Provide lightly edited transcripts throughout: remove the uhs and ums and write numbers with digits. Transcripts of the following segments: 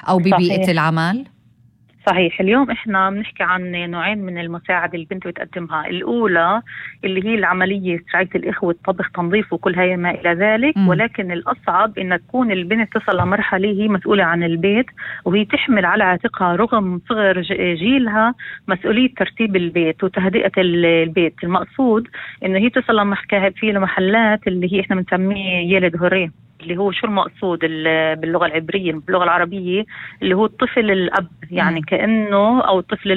أو ببيئة صحيح. العمل؟ صحيح. اليوم احنا بنحكي عن نوعين من المساعدة اللي البنت بتقدمها. الأولى اللي هي العملية رعاية الإخوة، الطبخ، تنظيف وكل هاي ما إلى ذلك. ولكن الأصعب إن تكون البنت تصل لمرحلة هي مسؤولة عن البيت، وهي تحمل على عاتقها رغم صغر جيلها مسؤولية ترتيب البيت وتهدئة البيت. المقصود إنه هي تصل لمحكاة في المحلات اللي هي احنا بنسميه يلد هوري، اللي هو شو المقصود باللغة العبرية، باللغة العربية اللي هو الطفل الأب، يعني كأنه أو طفل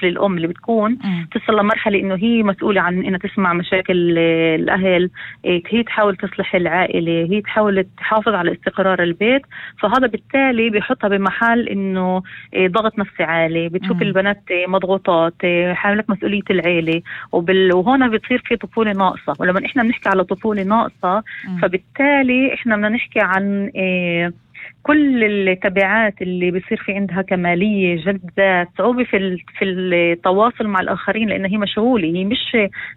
الأم اللي بتكون تصل لمرحلة إنه هي مسؤولة عن إنها تسمع مشاكل الأهل، هي تحاول تصلح العائلة، هي تحاول تحافظ على استقرار البيت. فهذا بالتالي بيحطها بمحل إنه ضغط نفسي عالي، بتشوف البنات مضغوطات، حاملة مسؤولية العائلة، وهنا بتصير في طفولة ناقصة. ولما إحنا بنحكي على طفولة ناقصة فبالتالي إحنا بدنا نحكي عن كل التبعات اللي بيصير في عندها كمالية، جلد ذات، صعوبة في التواصل مع الآخرين، لأنها هي مشغولة، هي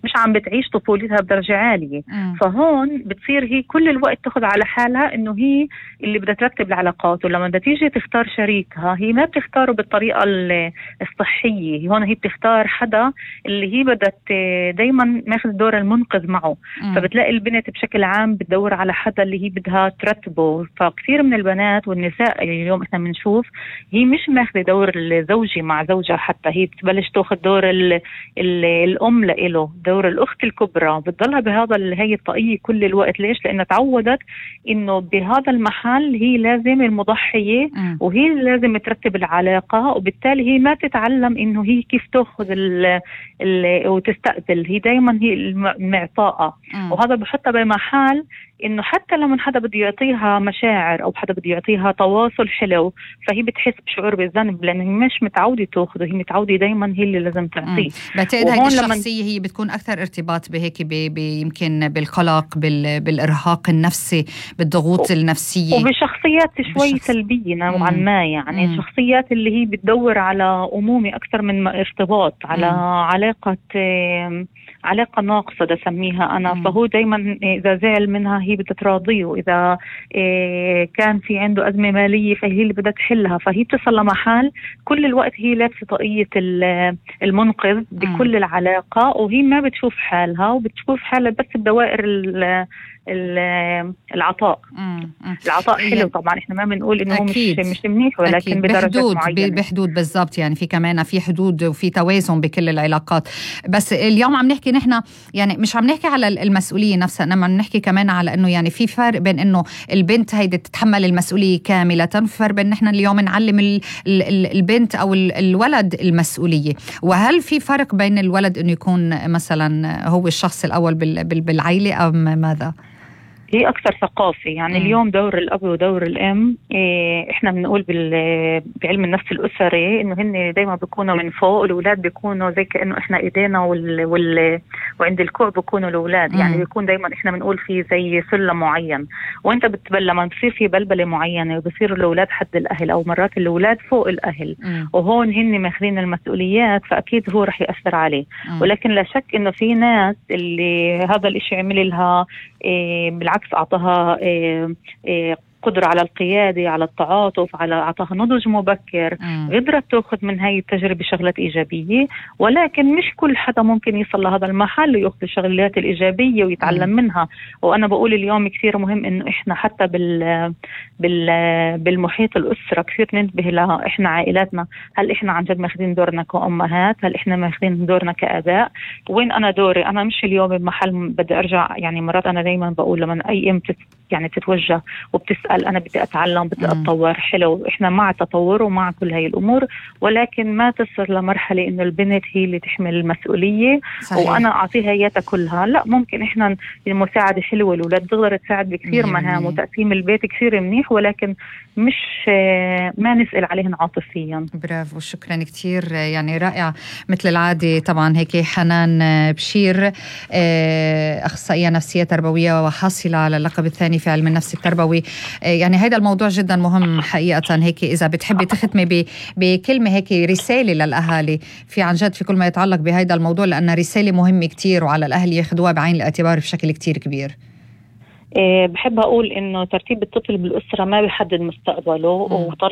مش عم بتعيش طفولتها بدرجة عالية. فهون بتصير هي كل الوقت تاخد على حالها إنه هي اللي بدها ترتب العلاقات، ولما بدها تيجي تختار شريكها هي ما بتختاره بالطريقة الصحية. هون هي بتختار حدا اللي هي بدها دايما ماخذ دور المنقذ معه. فبتلاقي البنت بشكل عام بتدور على حدا اللي هي بدها ترتبه. فكثير من البنات والنساء اليوم احنا بنشوف هي مش ماخذة دور الزوجي مع زوجها، حتى هي بتبلش تاخذ دور الأم لإله، دور الأخت الكبرى، بتضلها هي الطاقية كل الوقت. ليش؟ لأنها تعودت إنه بهذا المحل هي لازم المضحية، وهي لازم ترتب العلاقة، وبالتالي هي ما تتعلم إنه هي كيف تأخذ وتستقبل. هي دايما هي المعطاءة، وهذا بحطها بمحل إنه حتى لما حدا بده يعطيها مشاعر أو حدا بده يعطيها تواصل حلو فهي بتحس بشعور بالذنب، لأنه هي مش متعودة تأخذه، هي متعودة دايما هي اللي لازم تعطيه. بعتقد هيدي الشخصية هي بتكون أكثر ارتباط بهيك يمكن بالقلق، بالإرهاق النفسي، بالضغوط النفسية، وبشخصيات شوي سلبية نوعا ما. يعني شخصيات اللي هي بتدور على أمومة أكثر من ارتباط، على علاقة ناقصة دا سميها أنا. فهو دايما إذا زعل منها هي بدها تراضيه، إذا كان في عنده أزمة مالية فهي اللي بدها تحلها. فهي بتصل لمحل كل الوقت هي لابسة طاقية المنقذ بكل العلاقة، وهي ما بتشوف حالها، وبتشوف حالها بس بدوائر العطاء. العطاء حلو طبعا، احنا ما بنقول انه مش منيح، ولكن بدرجات معينة، بحدود بالضبط. يعني في كمان في حدود وفي توازن بكل العلاقات. بس اليوم عم نحكي نحن، يعني مش عم نحكي على المسؤولية نفسها، انما عم نحكي كمان على انه يعني في فرق بين انه البنت هيدي تتحمل المسؤولية كاملة، وفي فرق بين نحن اليوم نعلم البنت او الولد المسؤولية. وهل في فرق بين الولد انه يكون مثلا هو الشخص الاول بالعائلة ام ماذا؟ هي أكثر ثقافة. يعني اليوم دور الأب ودور الأم، إحنا بنقول بعلم النفس الأسري إنه هن دايما بيكونوا من فوق، الأولاد بيكونوا زي كأنه إحنا إيدينا وعند الكوع بيكونوا الأولاد. يعني بيكون دايما إحنا بنقول في زي سلم معين، وأنت لما بتصير في بلبلة معينة وبصير الأولاد حد الأهل، أو مرات الأولاد فوق الأهل، وهون هن ماخذين المسؤوليات، فأكيد هو رح يأثر عليه. ولكن لا شك إنه في ناس اللي هذا الإشي عمل لها بالعكس أعطاها قدرة على القيادة، على التعاطف، أعطاها نضج مبكر، قدرت تأخذ من هاي التجربة شغلات إيجابية. ولكن مش كل حدا ممكن يصل لهذا المحل ويأخذ الشغلات الإيجابية ويتعلم منها. وأنا بقول اليوم كثير مهم إنه إحنا حتى بالمحيط الأسرة كثير ننتبه لها. إحنا عائلاتنا، هل إحنا عن جد ماخذين دورنا كأمهات؟ هل إحنا ماخذين دورنا كأباء؟ وين أنا دوري؟ أنا مش اليوم بمحل بدي أرجع. يعني مرات أنا دايما بقول لما أي أم تتوجه وبتسأل أنا بدي أتعلم، بدي أتطور، حلو، إحنا مع التطور ومع كل هاي الأمور، ولكن ما تصل لمرحلة إنه البنت هي اللي تحمل المسؤولية. صحيح. وأنا أعطيها إياها كلها. لا، ممكن إحنا المساعدة حلوة، الأولاد تقدر تساعد بكثير مهام، وتقسيم البيت كثير منيح، ولكن مش ما نسأل عليهن عاطفيا. برافو، شكرا كثير، يعني رائع مثل العادة. طبعا هيك حنان بشير، أخصائية نفسية تربوية وحاصلة على اللقب الثاني في علم النفس التربوي. يعني هذا الموضوع جدا مهم حقيقة. هيك إذا بتحبي تختمي بكلمة هيك رسالة للأهالي في عن جد في كل ما يتعلق بهذا الموضوع، لأن رسالة مهمة كتير وعلى الأهل ياخدوها بعين الاعتبار بشكل كتير كبير. بحب أقول إنه ترتيب الطفل بالأسرة ما بيحدد مستقبله، وطريقة